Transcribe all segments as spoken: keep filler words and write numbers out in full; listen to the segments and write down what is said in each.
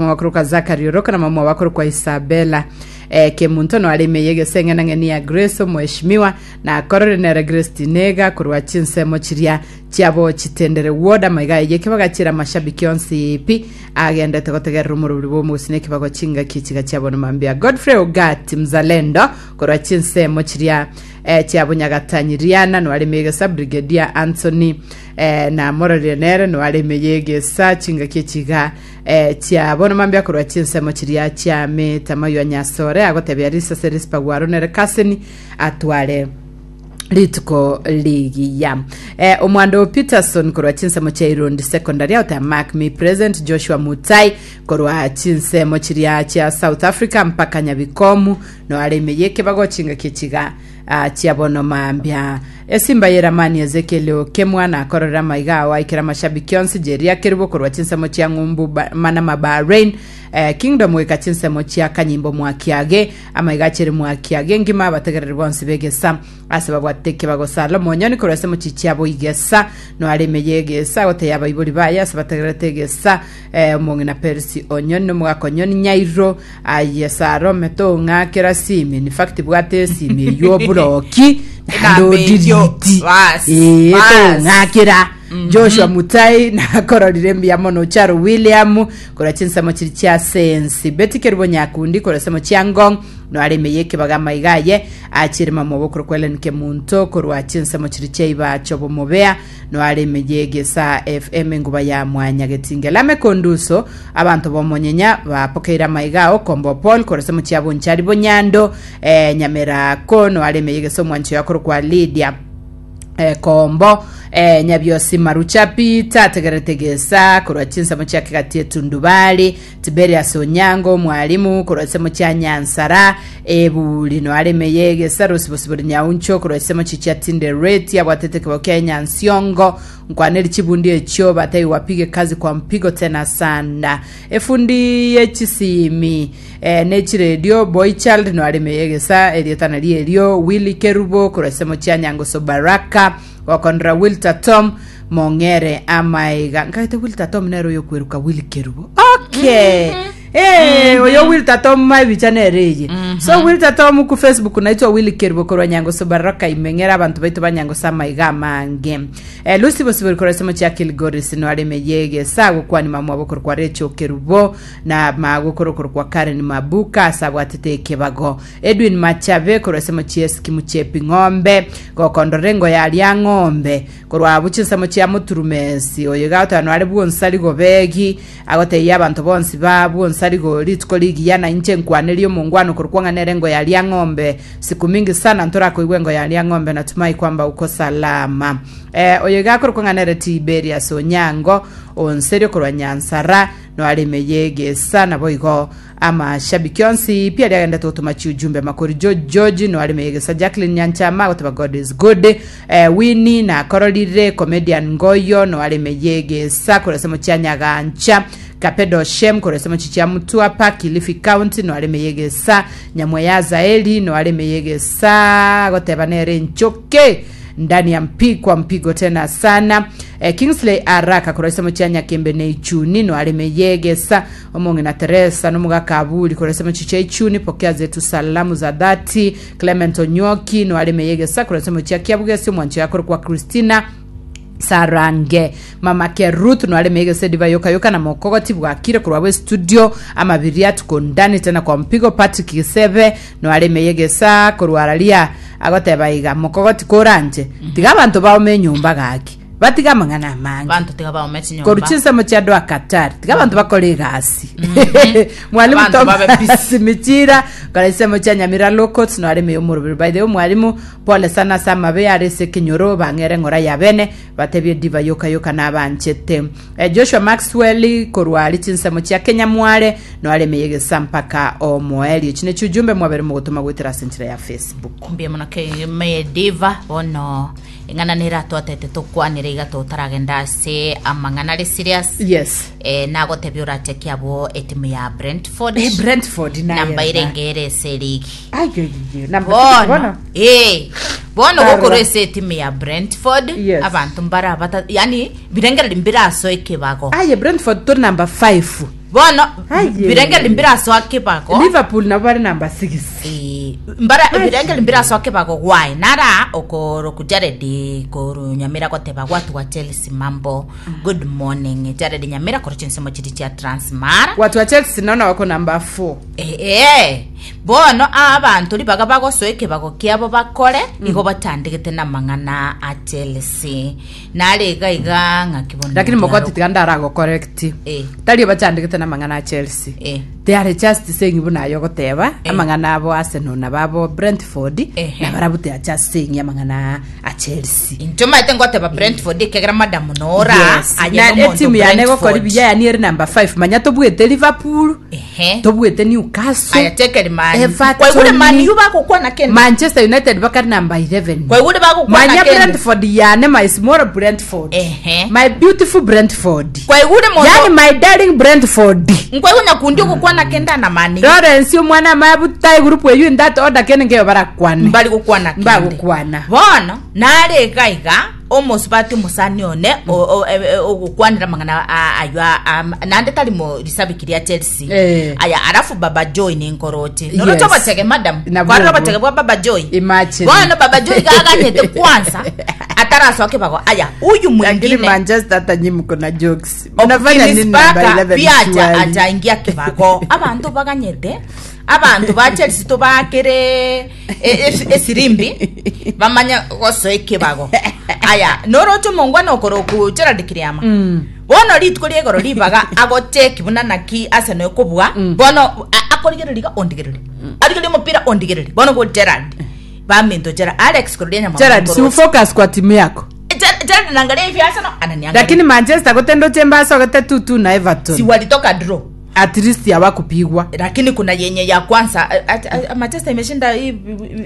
Mwakorokwa Zakari Oroka na mama wakorokwa Isabella eh, Kemunto no arime yegese ng'enang'eni ya Grace omweshimiwa na korore nere Grace Tinega korwa chinsemo chiria chiabo chitendere ward amaiga eye kebagachira mashabiki onsi pi agendete gotegerera omorobori bwa omogusii na ekebago chingaki chiga chiabo mambia Godfrey Ogati mzalendo korwa chinsemo chiria eh, chiabo Nyagatanyiriana no arime yegesa Brigadier Anthony eh, na mororire nere no arime yegesa chingaki chiga eh, chiabo mambia korwa chinsemo chiria chiamete amaywa nyasore agotebia risase risipagwaro nere kaseni atware rituko ligiya eh, omwando Peterson korwa chinsemo chia Irundi Secondary aotea mark me present Joshua Mutai korwa chinsemo chiria chia South Africa mpaka Nyabikomu no arime yekebago chingaki chiga uh, chiabono mambia esimba yeramani Ezekiel Okemwana akorera maiga awo aikera mashabiki onsi jeria kerubo korwa chinsemo chia ng'umbu ba- manama Bahrain eh, Kingdom weka chinsemo chia kanyimbo mwakiage amaiga chere mwakiage ngima abategereri bonsi begesa ase babwate kebago Salomo Onyoni korwa ase mochichi abo igesa no areme yegesa goteya abaibori baye ase bategererete egesa eh, omong'ina Percy Onyoni nomogaka Onyoni Nyairo aye Sarome tong'akera simi in fact bwate esimi eywo oburoki naende Enamba eywo, odiriti bas, Eh, bas. tong'akera Joshua Mutai nakororire mbuya mono Charo William korwa chinsemo chiri chia sensi Betty Kerubo Nyakundi korwa semo chia Ngong no areme yekebaga maiga aye achire mama obokoro kwa Ellen Kemunto korwa chinsemo chiri chia Ibacho Bomobea no areme yegesa F M enguba ya mwanya getingela mekonduso abantu bomonyenya bapokeire amaiga ao Kombo Paul korwa semo chia Bonchari Bonyando eh, Nyamerako no areme yegesa omwancho yakoro kwa Lydia eh, kombo eh, nyabiosi Marucha Peter ategerete gesa korwa chinsemo chia kigati etundubali Tiberias Onyango mwalimu korwa nsemo chia Nyansara ebuli no areme yegesa Rosibosibori Nyauncho korwa nsemo chichia Tindereti abwatete kibao kia Nyansiongo nkwaneri chibundi echio batai wapige kazi kwa mpigo tena sana efundi yechisimi eh, nechiredio Boychild no areme yegesa erietana rierio Willy Kerubo korwa nsemo chia Nyangoso Baraka wakondra Wilter Tom mong'ere amaiga nkaete Wilter Tom nero yokweruka Willy Kerubo okay. Eh, oyo Wilter Tom maibicha nereye so Wilter Tom ku Facebook naitwa Willy Kerubo korwa Nyangoso Baraka imeng'era abantu baitu banyangoso amaiga amange eh, Lucy Bosibori korwa semo chia Kilgoris no areme yegesa gokwani mamwa bokoro kwa Rachel Kerubo na magokoro kwa Karen Mabuka asabwatete ekebago Edwin Machabe korwa semo chia Eskimu chepi ng'ombe gokondorengo yaria ng'ombe korwa abu chinsemo chia Muturumesi oyo gatano are bwonsari gobegi agoteiya abantu bonsi ba bwonsari go rituko ligiya na inche nkwaneria omongwano korwa kwang'anere ngo yaria ng'ombe siku mingi sana ntorakoigwa engo yaria ng'ombe natumai kwamba uko salama eh, oyo gakorwa kwang'anere Tiberias Onyango onserio korwa Nyansara no areme yegesa nabo igo amashabiki onsi pia riagenda tugutuma chiujumbe makori George George no areme yegesa Jacqueline Nyanchama goteba God is good eh, Winnie na kororire comedian Ngoyo no areme yegesa korwa semo chia Nyagancha Kapedo Shem korwa semo chichia Mtwapa Kilifi County no areme yegesa Nyamwe ya Zaeli no areme yegesa goteba nere nchoke ndani ya mpi kwa mpigo tena sana eh, Kingsley Araka korwa semo chia Nyakembe ne Ichuni no areme yegesa omonge na Teresa no mugakabuli korwa semo chicha Ichuni pokea zetu salamu za dhati Clement Onyoki no areme yegesa korwa semo chia Kiabugesi omwancho yakoro kwa Christina Sarange mama ke Ruth no areme yegesa diva yoka yoka na mokogoti bwakire korwa bwe studio amabiria tuko ndani tena kwa mpigo Patrick Kisebe no areme yegesa korwa araria agoteba iga mokogoti koranje tiga abantu baome nyumba gaki batiga amang'ana amange Bantu tiga baome chinyomba. koru chinsemo chia doa Qatar tiga abantu bakora egasi mwalimu Abantu babe Thomas Michira kora isemo chia Nyamira Locals no areme omorobiri by the way mwalimu pole sana samabe arese kenyoro bang'ere ng'ora ya bene batebie diva yoka yoka nabanchete eh, Joshua Maxwell korwa ari chinsemo chia Kenya mware no areme yegesa mpaka omoelio chine chujumbe mwabere mugotuma gwitira ase enchera ya Facebook. Mbia mono ke me diva bono eng'ana nera twatete tukwanire iga tutaragenda ase amang'ana are serious. Yes. Eh, nagotebia orachekia abo etimu ya Brentford. Eh, Brentford naye namba irenge ase ligi ayo namba bono bono eh bono Barra. gokorwa ase etimu ya Brentford. Yes. Abantu mbara bata yani birengereri mbiraso ekebago aye Brentford to number five. Bono Aye. birengeri mbirasoa kibago. Liverpool nabo bari number six. Eh, mbara birengeri mbirasoa kibago gwae nara okoro ku Jared koru Nyamira goteba gwatu wa Chelsea mambo. Good morning Jared Nyamira koro chinsemo chiri chia Transmara. Watu wa Chelsea naona wako number four. Eh, eh bono abantu ribaga bagosoa ekebago kiabo bakore igo batandikete na mang'ana a Chelsea nare iga iga ng'aki bono Lakini ndiaro- mokoti tiganda arago correct. Eh. Tari bachandikete na mang'ana a Chelsea. Eh. They are just saying buna ayo goteba Eh. amang'ana abo Arsenal na babo Brentford Ehe. na barabu they are just saying amang'ana a Chelsea. Incho maete ngoteba Brentford ekegera madamu nora Yes. aye Na nomonto etimu yane gokora Brentford. biya yani eri number five manya tobwete Liverpool Ehe. tobwete Newcastle Aya tekeri man Everton. kwaigure man yu bagokwana kende Manchester United bakari number eleven. Kwaigure bagokwana Manya kende Brentford yane my small Brentford. Ehe. My beautiful Brentford. Kwaigure mondo Yani my darling Brentford. nkwaigu nyakundi ogokwana kende na mani. Lawrence omwana mabutai group eyu in that order kene ngeyo barakwane. Mbari gokwana kende. Mbagokwana. Bono nare iga iga omosubati omusani one o- o- e- e- ogokwanera mang'ana a- ayo a- am- nande tari mo risabiki ria Chelsea. Eh. Aya alafu Baba Joy ninkoroche Yes. noroche obotege madam Na kwarora bwogo. obotege bwa Baba Joy. Imagine. Bono Baba Joy gaganyete kwanza atarasoa kibago aya huyu Lakini mwingine Manchester hata nyinyi mko na jokes. Mnafanya nini Optimist number Parker eleven pia acha surely? achaingia kibago abantu baganyete abantu ba Chelsea tobakere esirimbi bamanya gosoa ekibago aya noroche omongwana okoroku Gerald Kiriama. Mm. Bono rituko riegoro ribaga agocheki buna naki Arsenal ekobua. Mm. Bono a- akorigereria iga ondigereria arigereria omopira ondigereria bono go Gerald baminto Gerald Alex kororia nyama. Gerard, si ufocus kwa timu yako. Gerald naangalia hivi Arsenal ananiangalia. Lakini Manchester gotendo chemba sogete two two na Everton. Si walitoka draw. At least hawakupigwa. Lakini kuna yenye ya kwanza a- a- a- Manchester imeshinda hii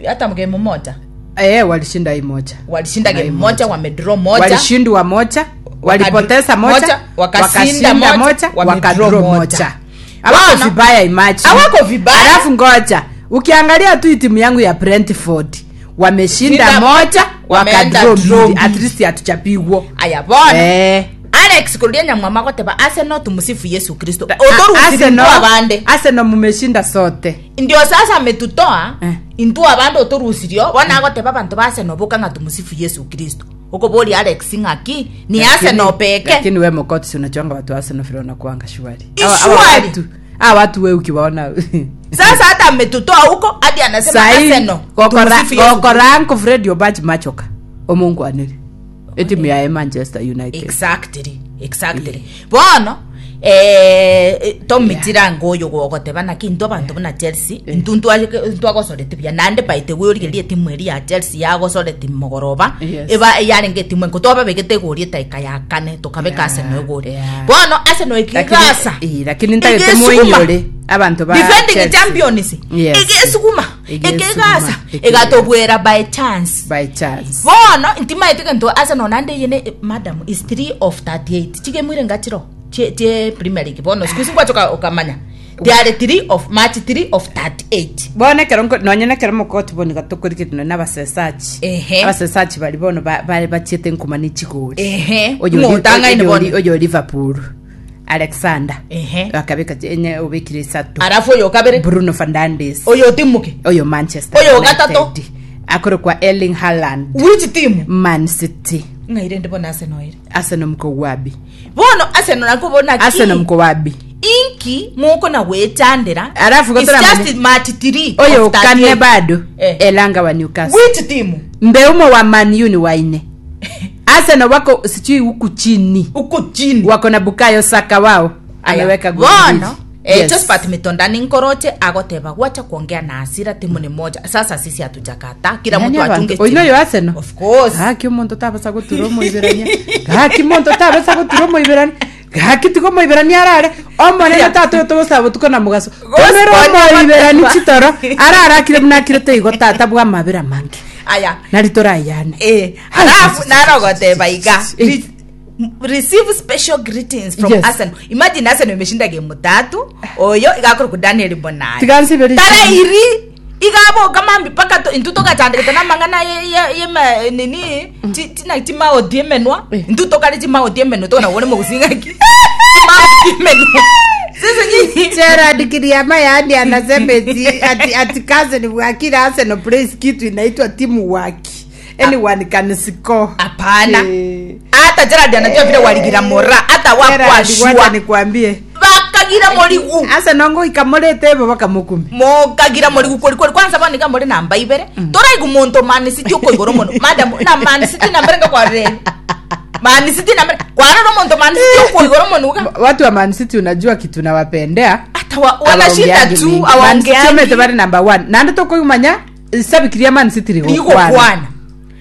hata game moja. Eh, walishinda hii moja. Walishinda Na game hii moja, wamedraw moja. Walishindwa moja, walipoteza moja, moja, wakashinda moja, moja, wamedraw wakadraw moja. moja. Hawako Bwana, vibaya imagine. hawako vibaya. Alafu ngoja, ukiangalia tu hii timu yangu ya Brentford wameshinda Shinda moja, wameenda wakadraw draw mbili. mbili. At least hatuchapigwa. Aya bona Eh. Alex kurudia nyamwama goteba Arsenal tumsifu Yesu Kristo A- otorusiri abande. Arsenal mumeshinda sote. Ndio sasa ametutoa Eh. intu abande otorusirio bona agoteba abantu ba Arsenal boka ng'a tumsifu Yesu Kristo okobori Alex ng'aki ni Lakini- Arsenal peke. Lakini we Mokoti si unajuanga watu wa Arsenal vile wanakuanga shwari. I Hawa- hawa shwari. watu- Hawa watu we ukiwaona Sasa hata ametutoa huko hadi anasema Sahi, Arsenal gokora tumsifu Yesu. gokora Fred Obachi machoka omongwanire etimu ya Manchester United. Exactly, exactly. Bono eh tomitira ngoyo gogoteba naki into abanto buna Chelsea intu ntwagosorete buya nande baite gworigeria etimu eri ya Chelsea yagosorete mogoroba. Yes. Eba yarenge etimu enko twababegete egori etaika ya kane tokabeka Yeah, Arsenal egori. yeah. Bono Arsenal ekigasa Lakini- eh, lakini ntagete Igesukuma. muinyore abantu ba Defending Chelsea. champions. Yes. Igesukuma. Igesukuma. Ikigasa Ikigasa. igatobwera by chance. By chance. Bono ntimaete gento Arsenal nande yene madam is three of thirty-eight chigemwire ngachiro che che Premier League bono siku singwacho ukamanya they are three of match three of thirty-eight. Bono ekero nko- nonye nekero mokoti bono gatokorikete nonye abasesachi Ehe. abasesachi bari bono ba- bare bachiete nkuma ne chigori. Ehe. Oyo Ng'otang'aine oyo- bono. oyo Liverpool Alexander Ehe. akabeka enye obekire isato. Alafu oyo kabere. Bruno Fernandes. Oyo timuke. Oyo Manchester Oyo United. gatatu. Akorokwa Erling Haaland. Which team? Man City. Ng'aire ndi bona Arsenal ire. Arsenal mko wapi? Bono Arsenal nakubona ki Arsenal mko wapi? Inki muko na wechandira. Alafu it's gotora just mane- match three oyo of kane thirty-eight. bado Eh. Elanga wa Newcastle. Which team? Mbeumo wa Man U ni waine. Arsenal wako sijui huku chini. Uko chini. Wako na Bukayo Saka wao ameweka goli bono mbili. eh, Yes. Josephat Mitondani nkoroche agoteba wacha kuongea na hasira timu ni moja sasa sisi hatujakata kila Yani mtu abantu- achunge Oyo timu. noyo Arsenal. Of course. Gaki omonto tabasa gotura omoiberania gaki monto tabasa gotura omoiberania gaki tiga omoiberania arare omonene tata togosaba botuko na mogaso tomere omoiberani chitoro arare akire buna akire teigo tata bwa amabera mange aya nari torayane. Eh, alafu narogoteba iga Eh. Re- receive special greetings from Yes. Arsenal. Imagine Arsenal imeshinda game tatu oyo igakora ku Daniel Bonai Tiga nsiberi- tara iri igaboka mambi paka to intu tokachandikite na mang'ana ye- ye- ye ma- nini ti- tina timaoti emenwa. Eh. Intu tokari timaoti emenwa tokona wone mogusing'aki timaoti emenwa. Sasa nyinyi Gerard Kiriama yaani anasema eti ati, ati cousin Wakira Arsenal plays kitu inaitwa timu waki. Anyone can score. Hapana. Eh. Hata Gerard anajua vile waligira mora hata Gerard, wakwa wacha shua nikwambie. bakagira morigu Arsenal ngo ikamurete bo bakamukumi. mokagira morigu kweli kweli kwanza banika muri namba ibere toraigu muntu Man City uko igoro mono madam na Man City nambere ngakwarire Man City nambere kwarora muntu Man City uko igoro mono uga Watu wa Man City unajua kitu nawapendea. hata wa- wanashinda Awaongeangi tu mingi. Man City omete awaongeangi bari number one. Nandi tukuimanya sabikiria Man City rigokwana. rigokwana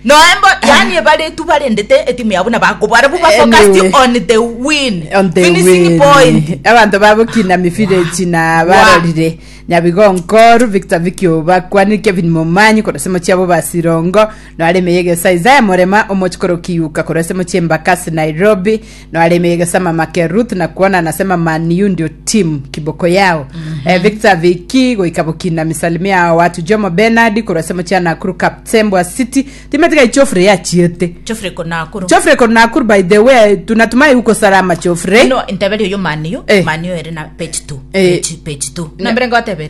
noembo yani bari tu barendete etimu yabo nabakobara buba Anyway. focused on the win On the finishing win. point Abanto babokina mifirechi na barorire nyabigonkoru Victor Vikio bakwani Kevin Momanyi korasemo chiabo basirongo no aremeyege Isaiah Morema omochikoro kiyuka korasemo chiembakasi Nairobi no aremeyege sama Make Ruth na kuona anasema Man U ndio team kiboko yao mm-hmm. eh, Victor Viki goikabokina misalimia watu Jomo Bernard korasemo chia Nakuru Kaptembwa City timetika ichofre ya chiete chofre konakuru Chofre konakuru by the way tunatumai uko salama Chofre no intebere yo maniyo Eh. maniyo ere na page two Eh. page page two nambere ngotebere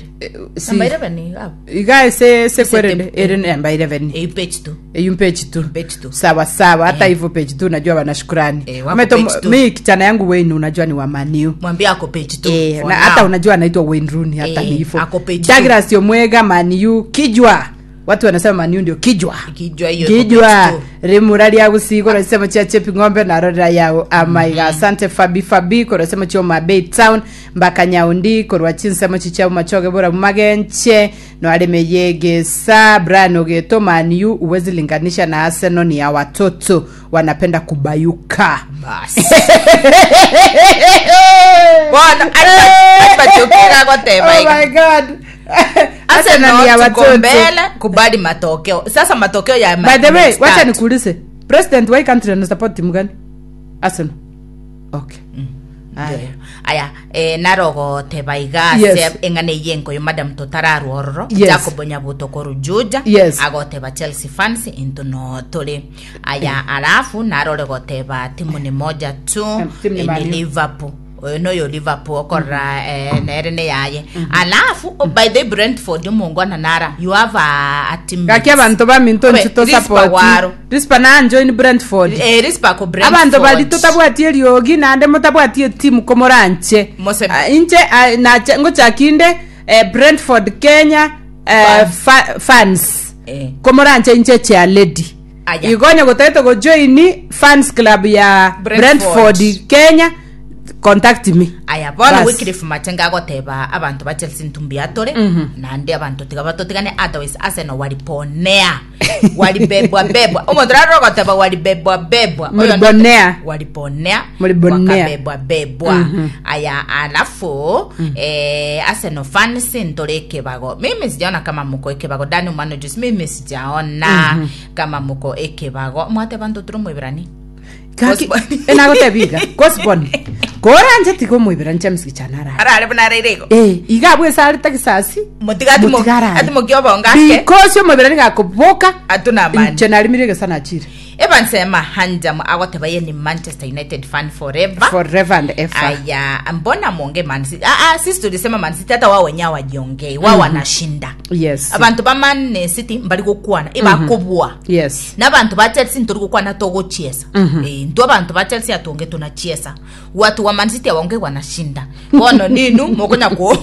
si- namba eleven abo igae se se kwerende Ese- ere namba eleven eh page two eyum page two Page two. sawa sawa hata hivyo page two unajua wana shukrani Eh, wako Umeto- page two. mi kichana yangu Wayne unajua ni wa Man U mwambie ako page two Eh, for na now. hata unajua anaitwa Wayne Rooney hata Eh, ni hivyo ako page two. Douglas Omwega Man U kijwa watu wanasema Man U ndio kijwa Kijwa hiyo iko page kijwa two. rimura ria gusigo rasemo chia chepi ng'ombe narorera yao amaiga asante fabi fabi korasemo chio mabei town mbaka nyaundi korwa chinsemo chichao machoge bora magenche no areme yegesa brian ogeto Man U uwezi linganisha na Arsenal ni ya watoto wanapenda kubayuka basi Bwana, atachokira goteba oh my god Arsenal ni ya Arsenal tuko watoto mbele kubali matokeo sasa matokeo ya by the way next wacha start. nikuulize president wa hii country ana support timu gani Arsenal okay Aya. aya eh, narogoteba iga Yes. ase eng'ana eye enkoyo madam totararwa Yes. jacobo nyabuto korujuja Yes. agoteba chelsea fans into no tuli aya alafu narore goteba timu ni moja tu Em, timu ni eh, Man ni U. liverpool oyo noyo liverpool okorora eh, nere ne yaye alafu oh, by the brentford omongwana nara you have a, a team gaki abanto baminto Obe, nchi to Rispa support waro. rispa na join Brentford eh, rispa ko brentford abanto bari totabwatie eriogi naende motabwatie etimu komoranche Mose- Ah, inche ah, nache ngochakinde eh, Brentford Kenya eh, fa, fans Eh. komoranche inche chia lady Aya. igonya gotete gojoini fans club ya Brentford. Brentford Kenya contact me aya bono Bas. wycliffe machenga agoteba abanto ba chelsea ntumbi atore nande abanto tiga batotigane otherwise arsenal waliponea walibebwa bebwa omonto rarora goteba walibebwa bebwa Oyo ndo- Mulibonea. waliponea Mulibonea. wakabebwa bebwa aya alafu eh, arsenal fans ntore ekebago mimi sijaona kama muko ekebago dani umano juice mimi sijaona kama muko ekebago mwateba ntoturo mwibirani Gaki- Gosbon. enagotebiga gosbon koranje tiga omwibira nche msichana arare arare buna arerego eh iga bwesa areta kisasi Motiga atimo- Motiga atimokia obongo ake. because omwibira nigakoboka Atuna amani. nche narimire gesa nachire Evans Mahanjam agoteba ye ni Manchester United fan forever. forever and ever Aya, mbona mwonge Man City? Ah, ah, sisi tulisema Man City hata wao wenyewe wajiongei, wao wanashinda. yes Abantu ba Man City mbali gukwana, ibakobwa. yes N'abantu ba Chelsea nturi gukwana togochiesa. Mm -hmm. E, ntu abantu ba Chelsea atonge tunachiesa. Watu wa Man City awaonge wanashinda. Bono ninu mokonya ko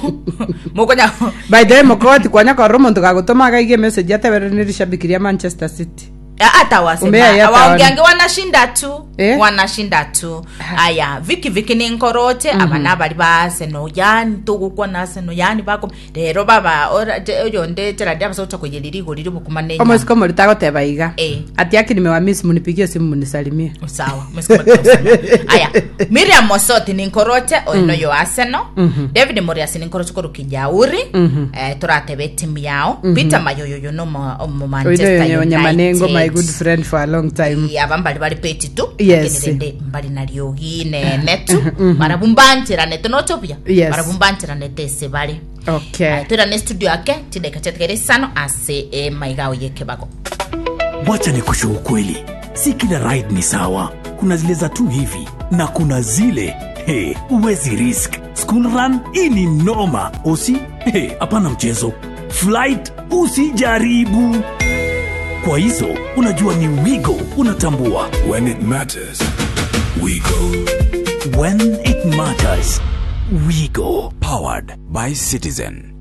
mokonya by the way mokoti kwanya korora omonto gagotoma gaige message atebere nirishabikiria manchester city hata wasema Umbea yata awaongeange wanashinda tu Eh? wanashinda tu aya viki viki ninkoroche mm -hmm. abana bari ba Arsenal yani tugukwa na Arsenal yani bako rero baba ora- je- oyo nde Gerard abasocha kuyeliri igoriri bukuma nenya omosiko moritagoteba iga Eh. ati aki nimewamiss munipigie simu munisalimie sawa mwesikoma tunasema. aya Miriam Mosoti ninkoroche oyo noyo Arsenal David Morias ninkoroche koru Kijauri eh turatebe timu yao Peter Mayoyoyo no mo mo Manchester oino nyamanengo my United good friend for a long time aba mbali bali peti tu Yes. lakini rende mbali nariogi nene tu barabumbanchiranete nochopia Yes. barabumbanchiranete ase bari okay twirane studio ake chideka chetigere isano ase emaigao yekebago Wacha ni kushuhu ukweli, si kila ride ni sawa. Kuna zile za tu hivi na kuna zile Hey, uwezi risk. School run, hii ni noma. Usi? Hey, hapana mchezo. Flight, usijaribu. Kwa hizo, unajua ni Wigo unatambua. When it matters, we go. When it matters, Wigo. Powered by Citizen.